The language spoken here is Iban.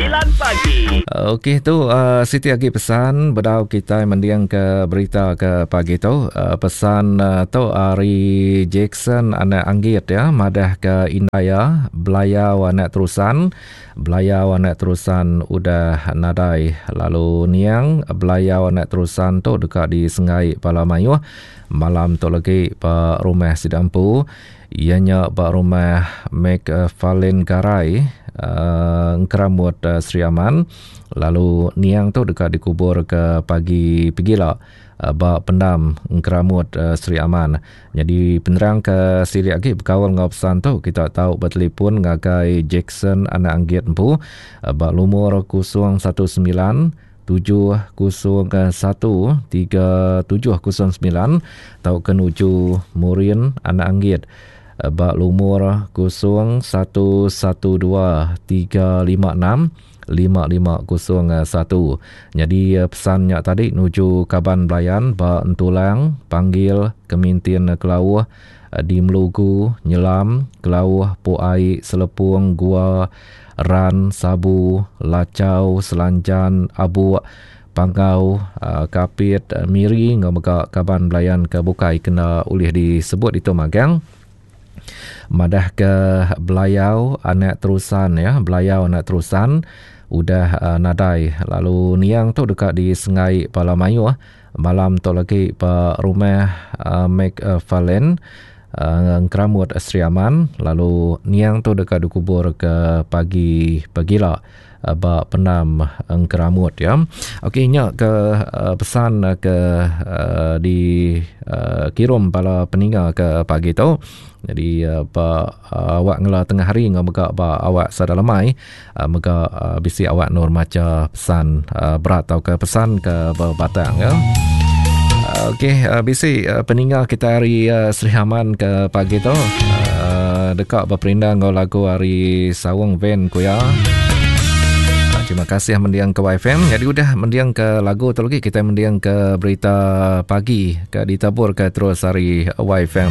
9 pagi. Okey tu uh, siti agi pesan bedau kitai mending ke berita ke pagi tu. Uh, pesan uh, tu ari Jackson anak Anggit ya madah ke indai iya Belayau anak Terusan. Belayau anak Terusan udah nadai lalu niang Belayau anak Terusan tu deka disenggai bala mayuh malam tu lagi ba rumah sida empu. Iya nya ba rumah McFarlane Garai, Engkeramut, Sri Aman lalu niang tu deka dikubur ke pagi pegila ba pendam Engkeramut, Sri Aman. Nyadi penerang ke silik agi bekaul enggau pesan tu kita tau betelefon ngagai Jackson anak Anggit empu ba lumur 019 701 3709 tauka nuju Murin Anak Anggit ba lumur 0 112 356 5501. Nyadi pesan nya tadi nuju kaban belayan ba Entulang, Panggil, Kemintin Kelauh, di Melugu, Nyelam, Kelauh, Puai, Selepung, Gua, Ran, Sabu, Lachau, Selanjan, Abuk, Panggau, Kapit, Miri enggau mega kaban belayan ke bukai kena ulih disebut ditu magang. Madahka Belayau anak Terusan ya, Belayau anak Terusan udah nadai lalu niang tu deka disenggai bala mayuh Malam tu lagi ba rumah McFarlane Engkeramut Sri Aman lalu niang tu deka dikubur ke pagi pagila ba pendam Engkeramut ya. Okey nya ke pesan ke di kirum bala peninga ke pagi tu. Jadi ba awak ngela tengah hari enggau mega ba awak sada lemai Mega bisi awak endur macha pesan berat tauka pesan ke bebatang ya. Okey, bisi peninga kita hari Sri Aman ke pagi tu deka beperindang enggau lagu ari Saung Van ku iya. Terima kasih mendiang ke YFM. Jadi udah mendiang ke lagu tu lagi kita mendiang ke berita pagi ke ditabur ke terus hari YFM.